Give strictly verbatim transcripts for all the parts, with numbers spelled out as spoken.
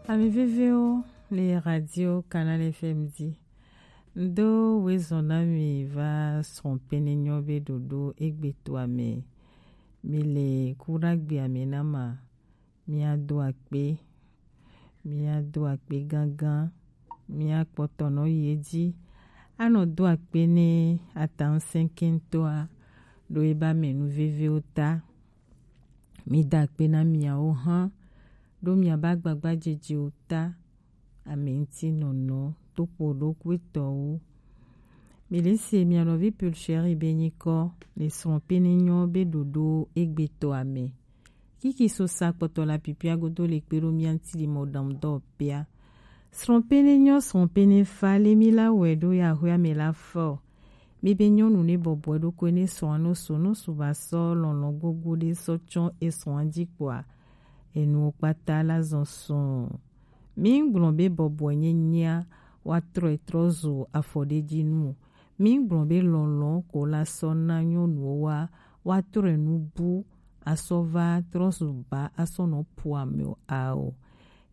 Ami viviwo le radio Canal F M dzi. Ŋdo wezɔn na mi va srɔ̃ pɛnɛ nyɔ be ɖoɖo egbe toa me. Mi le kuɖagbea me na ma. Mia do akpe. Mia do akpe gangan. Mia kpɔtɔ nɔ yi edzi. Anɔ do akpe ne atan sɛnkɛntɔa ɖo eba me nu viviwo ta. Mi da akpe na miawo hã ɖo miaba agbagbajejewo ta. Ame ŋuti nɔnɔ to ƒo ɖokuitɔwo. Mi le se mia nɔvi Pulcheri be nyikɔ le srɔ̃ pɛnɛ nyɔ be ɖoɖo egbe toa me. Kiki so sa kpɔtɔ la pipia godo le kpe ɖo mia ŋuti le mɔ dam dɔ pia. Srɔ̃ pɛnɛ nyɔ srɔ̃ pɛnɛ fa le mi la wɛ ɖo ya hwea me la fɔ. Mi be nyɔnu ne bɔbɔe ɖokui ne srɔ̃a no so no su ba sɔ lɔlɔ̃ gbogbo ɖe sɔ tsɔ esrɔ̃a dzi kpoa enuwo kpata la zɔn sɔ̃. Mi gblɔ be bɔbɔe nye nyia wa trɔe trɔ zu afɔɖedzi nu. Mi gblɔ be lɔlɔ̃ ko la sɔ na nyɔnuwo wa wa trɔe nu bu asɔ va trɔ zu ba asɔ nɔ pu ame o ao.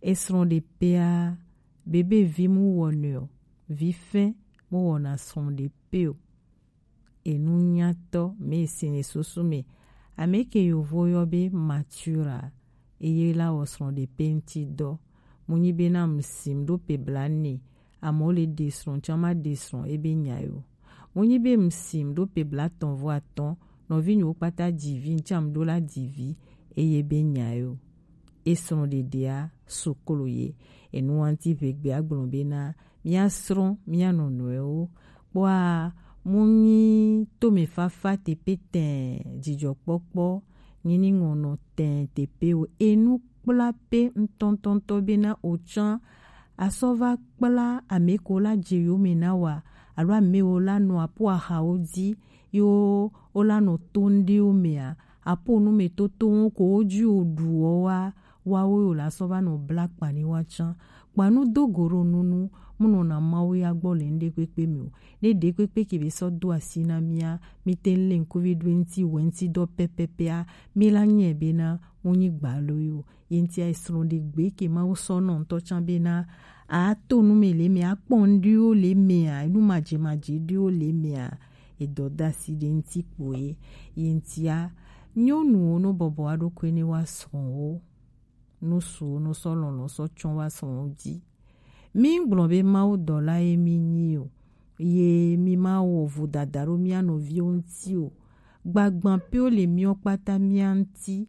Esrɔ̃ ɖe pea bebe vi mu wɔnɛ o, vi fɛn mu wɔna srɔ̃ ɖe pe o. Enu nyatɔ me si ne susu me. Ame ke yovo yɔ be mature a, eye la wɔ srɔ̃ ɖe pe ŋuti dɔ. Mu nyi be na mu sim ɖo pe bla ne, amewo le ɖe srɔ̃ tsã ma ɖe srɔ̃ ebe nya yo. Mu nyi be mu sim ɖo pe bla tɔn vɔ atɔn, nɔvi nyiwo kpata dzi vi ŋtsã mu ɖo la dzi vi, eye be nya yo. Esrɔ̃ ɖeɖea suklu ye. Enu ŋuti ʋegbe agblɔ bena mia srɔ̃ mia nɔnɔewo. Kpɔa mu nyi tome fafa tepe tɛn dzidzɔkpɔkpɔ nyi ni ŋɔnɔ tɛn tepe o. Enu kpla pe ŋtɔntɔntɔ bena otsã asɔ va kpla ame ko la dze yo me na wa alo ame wo la nɔ apo ahawo dzi yo wo la nɔ to ŋɖewo mea apo nu me toto ŋu ko wo dzi wo ɖu wo wa wawo yo la sɔ va nɔ bla kpa ni wa tsã. Kpa nu do go ɖo nunu mu nɔ na Mawu ya gbɔ le ŋɖe kpekpe me o. Ne ɖe kpekpe ke be sɔ do asi na mia, mi te le ŋkuvi ɖo ŋti wɛ ŋti dɔ pɛpɛpɛa, mi la nyɛ bena mu nyi gbalo yo. Ye ŋtia esrɔ̃ ɖe gbe ke Mawu sɔ nɔ ŋtɔ tsã bena a to nu me le me, a kpɔ ŋɖewo le mea, enu madze madze ɖewo le mea, edɔ da asi ɖe ŋti kpoe. Ye ŋtia nyɔnuwo no bɔbɔ wa ɖokui ne wa srɔ̃wo, no suwo no sɔ lɔlɔ̃ sɔ tsɔ wa srɔ̃wo dzi. Mi gblɔ be Mawu dɔla ye mi nyi o, ye mi ma wɔ vodada ɖo mia nɔviwo ŋti o. Gbagbã pewo le miɔ kpata mia ŋti.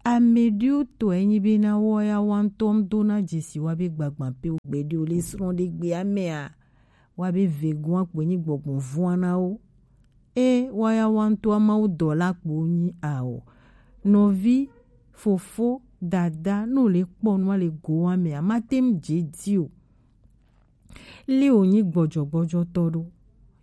Ame ɖewo tɔe nyi bena wɔ ya wa ŋtɔ ŋdo na dzesi wa be gbagbã pewo gbe ɖewo le srɔ̃ ɖe gbea mea, wa be vegoa kpoe nyi gbɔgbɔ vɔa na wo. E wa ya wa ŋtɔa Mawu dɔla kpo nyi ao. Nɔvi, fofo, dada, no le kpɔ nua le goa mea, ma te ŋu dze di o. Le wo nyi gbɔdzɔgbɔdzɔtɔ ɖo.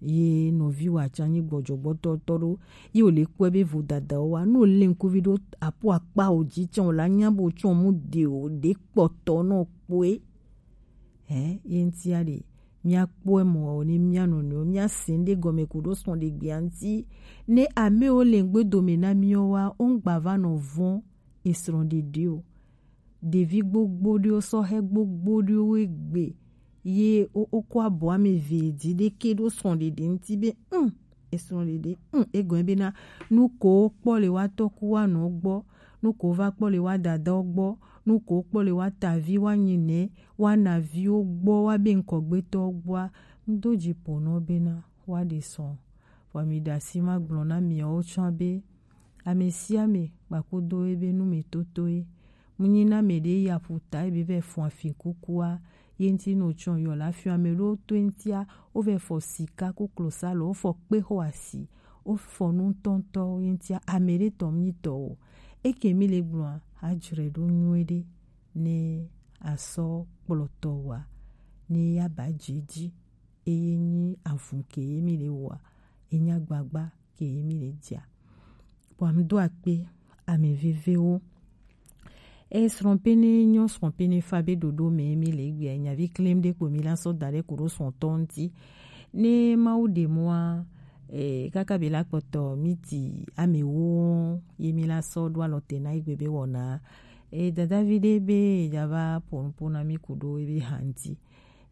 Ye nɔvi wa tsã nyi gbɔdzɔgbɔdzɔtɔ ɖo. Ye wo le kpɔe be vodada wa. No le ŋkuvi ɖo apo akpa o dzi tsã o la nya bo tsɔ mu de o de kpɔtɔ nɔ kpoe. Hɛ, ye ŋtia ɖe mia kpɔe mɔ o ne mia nɔnɔewo mia se ŋɖe gɔme ku ɖo srɔ̃ ɖe gbea ŋti. Ne amewo le ŋgbe dome na mia wa, o ŋgba va nɔ vɔ̃ esrɔ̃ ɖeɖe o. Ɖevi gbogbo ɖewo, sɔhɛ gbogbo ɖewo egbe ye wo, wokɔ abɔ ame eve dzi ɖeke ɖo srɔ̃ɖeɖe ŋuti be, mm, esrɔ̃ɖeɖe, mm, egɔme bena nu ko wokpɔ le wa tɔku wa nɔ gbɔ, nu ko wova kpɔ le wa dadawo gbɔ, nu ko wokpɔ le wa tavi wa nyinɛ wa naviwo gbɔ wa be ŋkɔgbetɔwo gbɔa, ŋdo dzi ƒo nɔ bena wa ɖe srɔ̃. Vɔ mi ɖe asi ma gblɔ na miawo tsã be, ame sia ame kpakudo ebe nu me totoe. Mu nyi na ame ɖe ya ƒuta ebe vɛ fɔ afi kukua, ye ŋti no tsɔ yɔ la fiɔ ame ɖewo to ŋtia, wo vɛ fɔ sika ku klosalo, wo fɔ kpe xɔ asi, wo fɔ nu ŋtɔŋtɔ ye ŋtia ame ɖe tɔ mi tɔ o. Eke mi le gblɔa, adzre ɖo nyuie ɖe ne asɔ kplɔtɔ wa ne ya ba dzi dzi. Eye nyi avun ke ye mi le wɔa, enya gbagba ke ye mi le dzia. Bua mi do akpe ame vevewo. E srɔ̃ pɛnɛ nyɔ srɔ̃ pɛnɛ fa be ɖoɖo me mi le gbia nyavi klem ɖe kpo mi la sɔ da ɖe ku ɖo srɔ̃tɔ ŋti. Ne Mawu ɖe mɔa, e, kaka be la kpɔtɔ mi ti ame wo ye mi la sɔ ɖo alɔ te na igbe be wɔna E dadavi ɖe be ya va po nupo na mi ku ɖo ebe hanti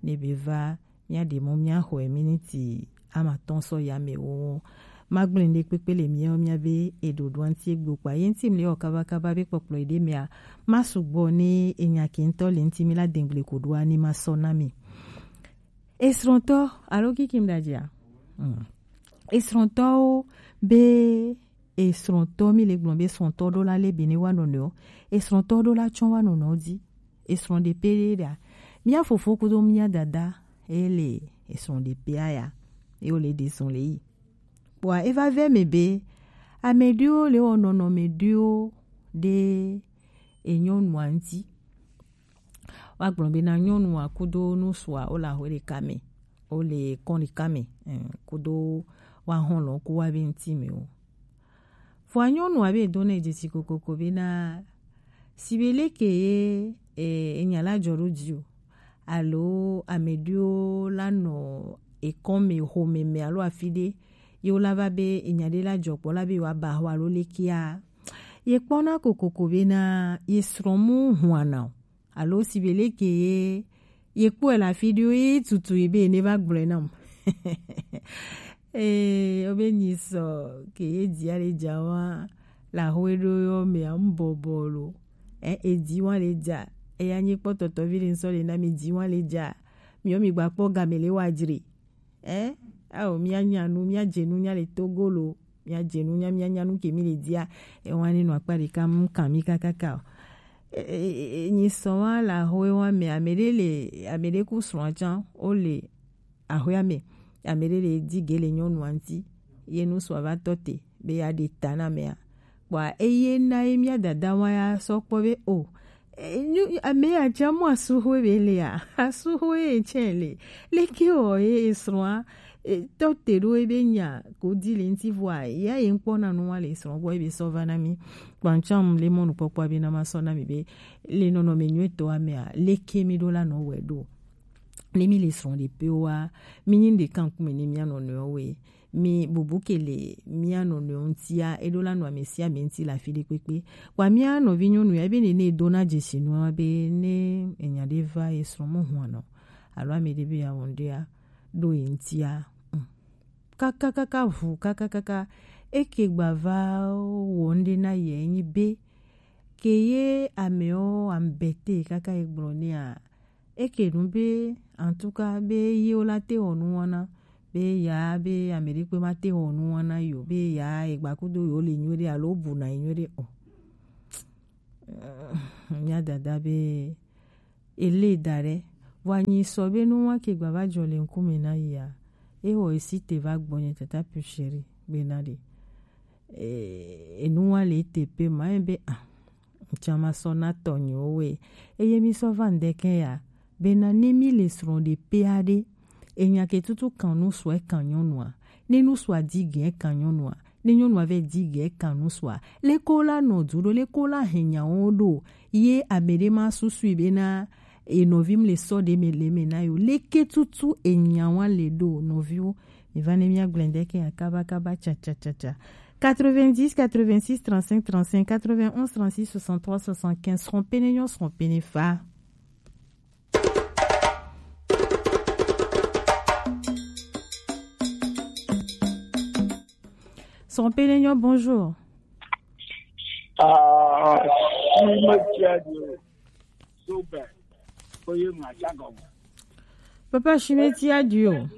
ne be va mía ɖe mɔ mía xɔe miniti ama tɔn sɔ ya me wo. Ma gblẽ ɖe kpekpe le mía mía be e ɖoɖo anti egbe kpa ye nti mle ɔ kaba kaba be kpɔkplɔ ɖe mea ma sugbɔ ne enya ke ŋutɔ le nti mi la dengble ko ɖoa ne ma sɔ na mi. Esrɔ̃tɔ alo kikim ɖajia? Mm. Esrɔ̃tɔwo be esrɔ̃tɔ mi le gblɔ be esrɔ̃tɔ ɖo la le be ne wa nɔnɔewo. Esrɔ̃tɔ ɖo la tsɔ wa nɔnɔewo di. Esrɔ̃ ɖe pe ɖe ɖa. Mía fofo kudo mía dada e le esrɔ̃ ɖe pe aya. E wo le ɖe srɔ̃ le yi. Kpɔa e va vɛ me be ame ɖewo le wɔ nɔnɔme ɖewo ɖe enyɔnua ŋti. Wa gblɔ be na nyɔnua kudo nusua wo le ahwe ɖeka me, wo le kɔn ɖeka me, eh, kudo wa hɔn lɔ ku wa be ŋti me o. Vɔa nyɔnua be do na e dzesi kokoko be na si be leke ye, eh, enya la jɔ ɖo dzi o, alo ame ɖewo la nɔ ekɔn me, xome me alo afi ɖe ye wo la va be enya ɖe la jɔ kpɔ la be wa ba xɔ alo lekea. Ye kpɔna kokoko be na ye srɔ̃ mu hwana o. Alo si be leke ye ye kpɔe le afi ɖewo ye tutu ye be ne va gblɔe nam. Ee, wo be nyi sɔ ke ye dzi ale dza wa la xo eɖo yɔ mea ŋbɔbɔ lo. E edzi wa le dza eya nyi kpɔtɔtɔ vi le ŋsɔ le na mi dzi wa le dza. Mi yɔ mi gba kpɔ game le wa dzre. Ɛ ao mía nya nu, mía dze nu, mía le Togo lo, mía dze nu, mía mía nya nu ke mi le dia. Ewa ni nɔ akpa ɖeka mu kan mi kakaka o. E, e, e, e, nyi sɔ wa la ho ewa me ame ɖe le ame ɖe ku srɔ̃a tsã wo le ahoea me. Ame ɖe le di ge le nyɔnua ŋti ye nu srɔ̃a va tɔ te be ya ɖe ta na mea. Kpɔa eye na ye mía dada wa ya sɔ kpɔ be o, e, nyu- ame ya dza mu asuhoe be lea, asuhoe ye tsɛ le. Leke wɔ ye esrɔ̃a e, tɔ te ɖo ebe nya ko di le ŋti vɔa ya ye ŋkpɔ na nu wa le esrɔ̃ gbɔ ebe sɔ va na mi. Kpɔa ŋtsam le mɔnukpɔkpɔa be na ma sɔ na mi be le nɔnɔme nyuitɔa mea leke mi ɖo la nɔ wɛ ɖo. Ne mi le srɔ̃ ɖe pe wa mi nyi ɖeka ŋkume ne mía nɔnɔewo we. Mi bubu ke le mía nɔnɔewo ŋtia, eɖo la nɔ ame sia ame ŋti le afi ɖe kpekpe. Kpɔa mía nɔvi nyɔnu ya, ebe nene edo na dzesi nua be ne enya ɖe va ye srɔ̃ mo hua nɔ alo ame ɖe be ya wɔn ɖea ɖo ye ŋtia. Mm. Kakakaka vu kakakaka eke gba va wɔn ɖe na ye nyi be ke ye amewo ambete kaka ye gblɔ nea. Eke nu be, en tout cas, be yewo la te wɔ nu wɔna, be ya be ame ɖe kpe ma te wɔ nu wɔna yo, be ya egba kudo yo le nyuie ɖe alo bu na nyuie ɖe o. Mía dada be ele da ɖe, vɔ anyi sɔ be nu wa ke gba va jɔ le ŋkume na yia, e wɔ esi te va gbɔ nye tata pu chéri be na ɖe. E, enu wa le te pe ma be ah, Ŋtsã ma sɔ na tɔnyewo we. Eye mi sɔ va ŋdɛkɛ ya, bena ne mi le srɔ̃ ɖe pe aɖe, enya ke tutu kan nusua kan nyɔnua. Ne nusua di ge kan nyɔnua, ne nyɔnua vɛ di ge kan nusua, leko la nɔ du ɖo, leko la hɛn nyawo ɖo, ye ame ɖe ma susui bena e nɔvi mi le sɔ ɖe me le me na yo. Leke tutu enya wa le ɖo nɔviwo. Mi va ne mi agblẽ ŋdɛkɛ ya kaba kaba tsa tsa tsa tsa. Quatre-vingt-dix, quatre-vingt-six, trente-cinq, trente-cinq, quatre-vingt-onze, trente-six, soixante-trois, soixante-quinze. Srɔ̃ pene nyɔ, srɔ̃ pene fa. Srɔ̃ pene nyɔ, bonjour. Ah, si me tia de o. So bɛ. Ko ye ma tsa gɔme. Papa Shimeti a du o.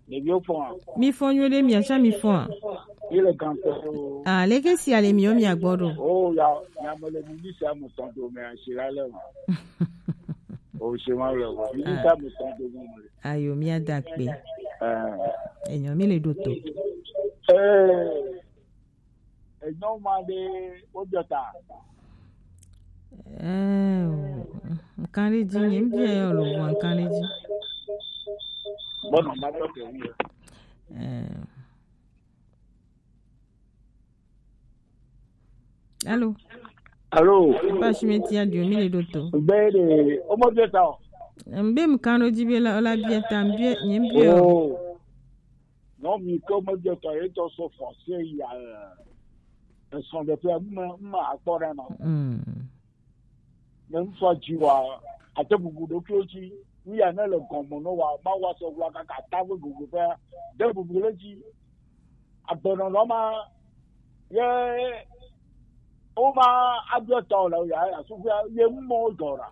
Ɖeviwo fɔa? Mi fɔ nyuie ɖe, mia tsã mi fɔa? Yi le gan tɔ o. Ah, leke si ale mi yo mi agbɔ ɖo? Oh, ya, ya me le mi sia mo tɔn do me asi la le ma. O se ma le o. Mi sia mo tɔn do me. Ayo, mia da kpe. Eh. Enyo mi le ɖo to. Eh. Enyo ma ɖe wo jɔ ta. Eh, nkan ɖe dzi, nye ŋbia yɔ lo vɔ nkan ɖe dzi. Bɔnɔ ma tɔ ke wu. Eh. Allô? Allô? Papa Shimeti a du o, mi le ɖo to. Be de, o mo jɔ ta o. Mbe nkan ɖe dzi be la, la bia ta, mbia, nye ŋbia. Oh. Non, mi ko me de to, e to so forcé ya, eh, son de pe, ma, ma akpɔ ɖe no. Mm. Ne ŋsɔ dzi wa, ate bubu ɖokuiwo dzi. Nu ya ne le gɔme nɔ wa, ma wa sɔ wla kaka ta ve gogo ƒe de bubu le dzi. Agbenɔnɔ ma ye woma abiɔ ta o le ya ya sugbea ye mɔ dɔ ra.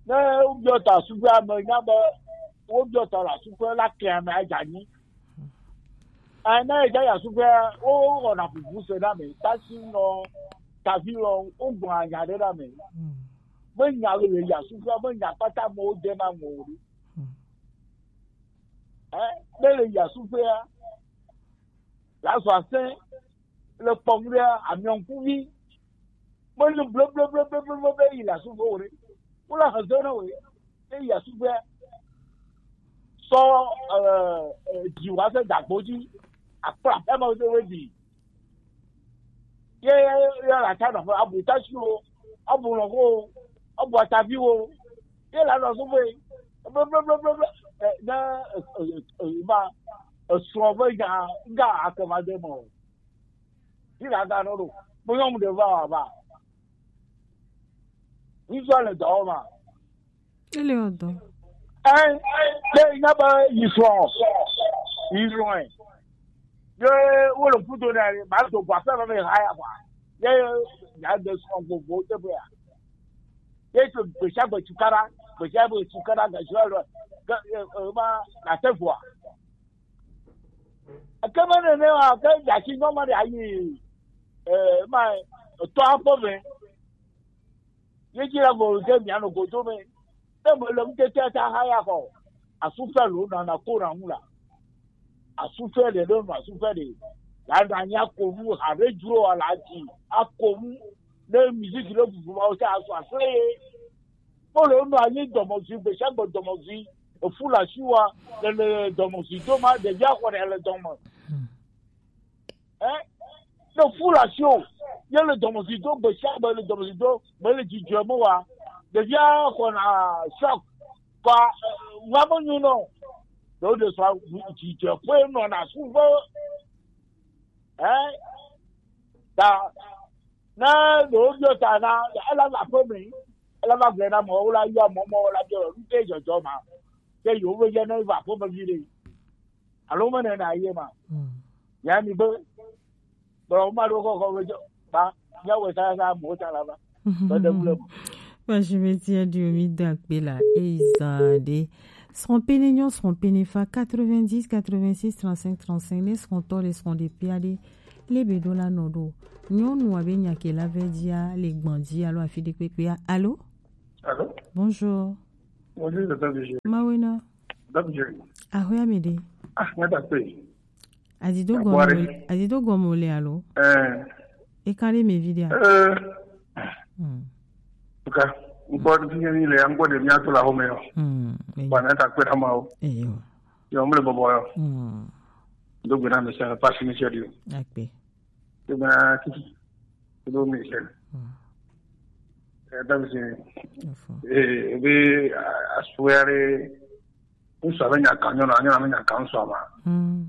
Ne wobiɔ ta sugbea me nya be wobiɔ ta la sugbea la ke ame adza nyi. Ena edza ya sugbea wo wɔna bubu se na me. Tasi nɔ tavi lɔ wo gbɔ anya ɖe na me. Me nya le ya sugbea me nya kpata mo de na mo ri. Eh, ne le ya sugbea la so ase le kpɔm ɖe amiɔnkuvi. Mele bleblebleblebleble be yi le asuƒe o ɖe. Wole hezɔ na wòe. Ye yi asuƒea, sɔ, eh, eh, dzi wòase dagbo dzi. Akpla aƒeme wo se wo dzi. Ye, ye, ye le ata nɔƒe, abu tasiwo, abu lɔƒewo, abu ataviwo. Ye le anɔ asuƒe. Bleblebleblebe. Eh, ne, eh, eh, eh, ma, esrɔ̃ be nya, ŋga akema de me o. Yi la ga no ɖo. Mo nyɔnu ɖe va wa va. Ŋutsu le dɔ wɔm a? Ele wɔ dɔ. Ɛ, ɖe nya be yi srɔ̃. Yi srɔ̃ ɛ. Ye wo le kudo na ye, ma do gwa fɛ me ha ya kwa. Ye ya de srɔ̃ gbogbo te be ya. Ye to gbesa gbe tukara, gbesa gbe tukara ga jɔ lo. Ga, eh, eh, ma na te vua. Ekema nene wa ke dzasi nyɔ ma ɖe ayi, eh, ma etɔ aƒe me. Ye dzi la vɔ ke mia nɔ godo me. Ne me le ŋutete ta ha ya xɔ. Asufe lo na na ko na ŋu la. Asufe le le no asufe le. La na nya ko mu ha re dro ala dzi. A ko mu ne musique le bubu ma o ta asu asufe ye. Polo nɔ anyi dɔmɔzi, gbesiagbe dɔmɔzi, efu le asiwa, le, le dɔmɔzi do ma, ɖevia xɔ ɖe le dɔme. Ɛ? Ne fu le asiwo, ye le dɔmɔzi do, gbesiagbe le dɔmɔzi do, me le dzidzɔ me wa. Ɖevia xɔna choc, kɔ, eh, wa me nyo nɔ. Ɖewo ɖe sɔ dzidzɔ ƒe nɔna suve. Ɛ? Ta Ne ɖewo biɔ ta na, ele va aƒe me, ele va gblɔe na amewo la yɔ amewo, amewo la biɔ nu ke dzɔdzɔ ma. Ke yewo be ye ne va aƒe me vi ɖe. Alo me nena ye ma. Mm. Ya mi be, bro, ma ɖo kɔkɔ be dzɔ, ba, ya wɔ sa sa amewo ta la va. Be ɖe ŋu le me. Ba, je me tiens du mi da kpe la, e zan de. Srɔ̃ pene nyɔ, srɔ̃ pene fa, quatre-vingt-dix, quatre-vingt-six, trente-cinq, trente-cinq, ne srɔ̃tɔ le srɔ̃ ɖe pia ɖe. Le be ɖo la nɔ ɖo. Nyɔnu abe nya ke la vɛ dzia, le gbɔn dzi alo afi ɖe kpekpea. Alo? Alo? Bonjour. Bonjour, docteur Vigile. Mawena. Docteur Vigile. Ahoya mi ɖe. Ah, nga da pe. Adido gɔmɔ, adido gɔmɔ le alo? Eh. E ka ɖe mi vi ɖe a? Eh. Hmm. Ka, ŋkɔ ɖe fi mi le, ŋkɔ ɖe mi ato la home yo. Hmm. Ba na ta kpe ɖa ma o. Eyo. Yo, mle bɔbɔ yo. Hmm. Do gbe na mi se, pasi mi se di o. Akpe. Tena kiki. Kudo mi se. Hmm. Eh, da mi se. Info. Eh, be, a, asuare. Ŋsua be nya ka nyɔnu, nyɔnu be nya ka ŋsua ma. Hmm.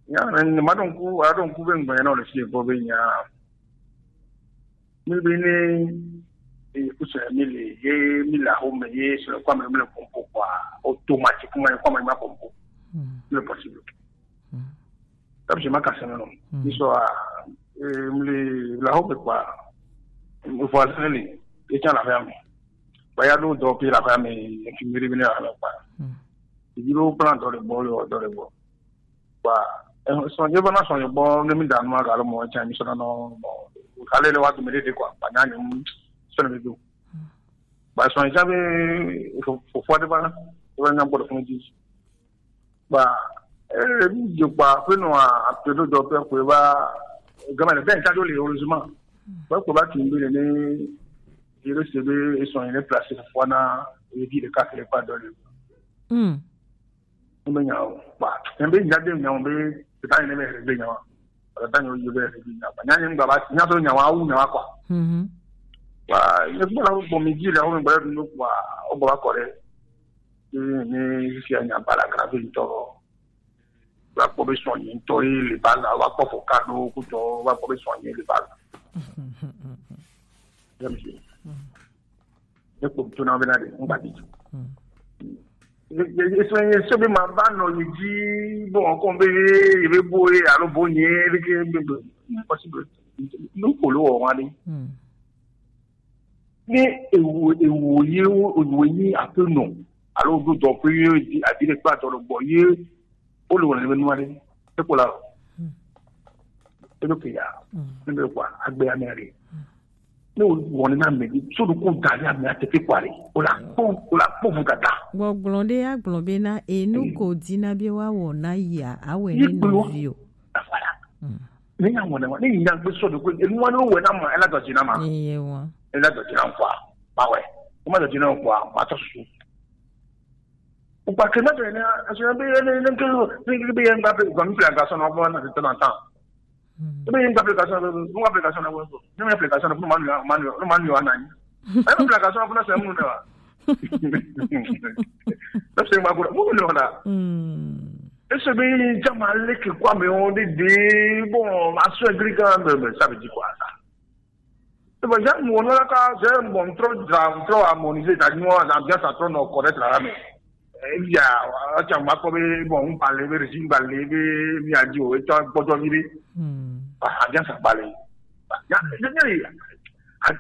Ya, ne, ne ma ɖo ŋku, a ɖo ŋku be ŋgbe na le fi gbɔ be nya. Mi be ne, eh, kusɛ mi le, ye mi le ahome, ye sɔ kwa me, mi le pompo kwa, automatiquement, kwa me ma pompo. Hmm. Le possible. Hmm. Tabi ma ka sɛnɛ nɔ. Hmm. Ni sɔ a, eh, mli la ho pe kwa. Mo fo asɛnɛ li. E tsa la fɛ mi. Ba ya do dɔ pi la fɛ mi, infirmière bi ne la fɛ kwa. Hmm. Ibi lo plan dɔ le bɔ, le dɔ le bɔ. Kwa, eh, sɔn je bana sɔn je bɔ, ne mi da numa ka lo mo tsa mi sɔ na nɔ. Ka le le wa tu mi de kwa. Ba nya ni sɔ ne mi do. Hmm. Ba sɔn ja be fo, fo, fo de ba. Ba nya bɔ de fun ji. Ba, eh, mi je kpa, pe no a, a pe do do pe ko ba, gama le ben ta do le, heureusement. Ba ko ba kin bi le ne, je le se be, ils sont en place, fo na, e di le ka le pa do le. Hmm. Mbe nya o. Ba, mbe nya de nya o, be, ta ni me be nya o. Ba ta ni o be nya ba. Nya ni ngba ba, nya so nya wa, u nya wa kwa. Mhm. Ba, ye ko la ko mi di le, o ngba do kwa, o ba ko le. Ni, ni fia nya bala grave ŋutɔ. Wa kpɔ be sɔnyi ŋutɔ ye le bala, wa kpɔ fo kado kutɔ, wa kpɔ be sɔnyi le bala. Ya mi si. Ne kpɔ to na be na de ngba bi. Eso ye so be ma ba no yi ji bo ko be ye be bo ye alo bo nye be ke be be possible. No ko lo wa ni. Ni ewo ewo ye o ewo ni ape no. Alo do do pe ye di adi le pa to lo bo ye o lo wa ni be no wa ni. E ko la. E lo ke ya. Ne be kwa agbe ya me ade. Ne o wɔna mɛ bi so do ko da ya mɛ ate pe kwari o la kpɔ o la kpɔ fu dada. Gbɔgblɔ ɖe agblɔ be na enu ko dina be wa wɔ na ya awɛ ne nɔvi o. Afala. Ne ya wɔna wa ne ya gbe so do ko enu wa no wɛ na ma ela dɔ dina ma. Eye wa. Ela dɔ dina kwa. Ba wɛ. O ma dɔ dina kwa ma tɔ susu. O pa ke ma de ne aso be ne ne ke ne ke be ya ngba pe ko mi plan ka so no bo na te na tan. Ebe yin application na, mo application na wo. Ni application na mo manu manu no manu ana ni. Ebe application na mo na se mo na. Na se ma ko mo no na. Eso be yin jama le ke kwa me on de de bon aso agrika me me ça veut dire quoi ça? Ebe ja mo no la ka je bon trop trop harmonisé ta ni on ambiance trop no correct la mais. Eya atsã ma kpɔ be bon ŋgba le be régime ŋgba le be mia dzi o etsɔ gbɔdzɔ vi ɖe. Adia sa gba le ya ya ya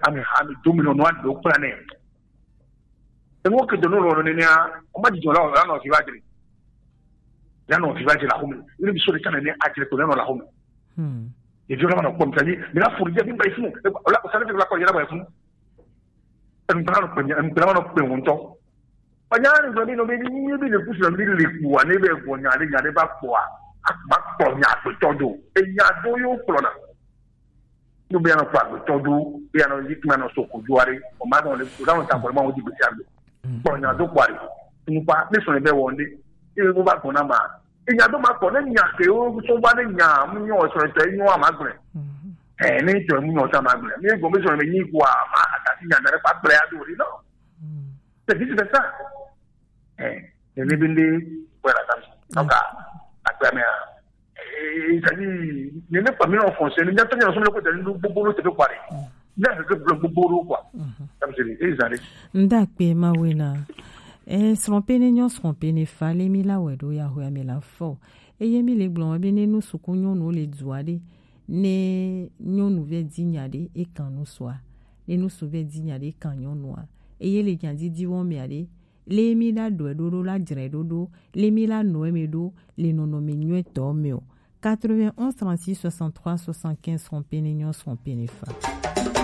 ami ami do mi nɔ nua do kpla nɛ. Eŋɔ ke do no lɔ nenea o ma dzidzɔ la o la nɔ fi va dzre. Ya nɔ fi va dzre la xome. Iri bi so ɖeka nene adzre ko ya nɔ la xome. Evi la ma nɔ kpɔ mi ta yi mi la furu dze mi ba yi funu. O la o sa ne fi la kɔ yi la ba yi funu. Ŋgbla nɔ kpe ŋgbla nɔ kpe ŋutɔ. Panya ni gblɔ be nɔ be ni be le kusu mi le kua ne be gbɔ nya de nya de ba kpɔa. Ba kpɔ nya gbetɔ do. E nya do yo kplɔ na. No be anɔ kpɔ agbetɔ do be anɔ yi kuma nɔ so ko do are. O ma dɔn le o dɔn ta kpɔ ma o di gbesi agbe. Kpɔ nya do kpɔ are. Ŋkpa ne sɔ ne be wɔn de. E be ba gbɔ na ma. Enya do ma kpɔ ne nya ke wo so ba ne nya mu nyo so to nyo ma gble. Eh ne to mu nyo sa ma gble. Mi go mi so me nyi kwa ma ata ti nya na pa gble a do ri no. C'est vice versa. Eh ne ne binde voilà ça. Donc à à mais eh ça dit ne ne pas mi en français ne nya to nya so me ko de ndu gbogbo lo te pe kware. Ne ke gbogbo lo kwa. Ndakpe ma wena. Eh srɔ̃ pe ne nyɔ srɔ̃ pe ne fa le mi la wɛ ɖo ya ho ya mi la fɔ. Eye mi le gblɔ be ne nu suku nyɔnu le dua ɖe ne nyɔnu vɛ di nya ɖe e kan nu sua ne nu su vɛ di nya ɖe e kan nyɔnua eye le nya didi wɔ mea ɖe le mi la ɖɔe ɖoɖo la dzrɛ ɖoɖo le mi la nɔe me ɖo le nɔnɔme nyuitɔ me o. Quatre-vingt-onze trente-six soixante-trois soixante-quinze srɔ̃ pe ne nyɔ srɔ̃ pe ne fa.